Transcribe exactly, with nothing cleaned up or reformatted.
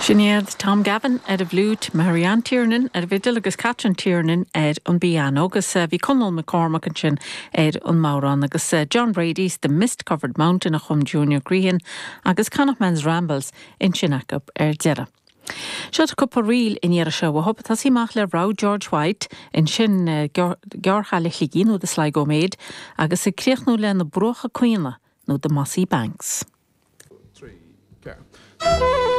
Sin iad Tom Gavin ar an bhfliúit, Marianne Tiernan ar an bhfidil agus Catherine Tiernan ar an bpianó agus eh, bhí Conall McCormack ansin ar an mbodhrán agus eh, John Brady's The Mist Covered Mountain a chum Junior Grehan agus Connachtman's Rambles ansin acu ar deireadh. Seo cúpla ríl in iar seo hop tá síach le ra George White ansin eh, Gearrchaile Shligigh nó The Sligo Maid agus ag críochnú le na Bruacha Caoine nó The Mossy Banks. Trí, ceathair.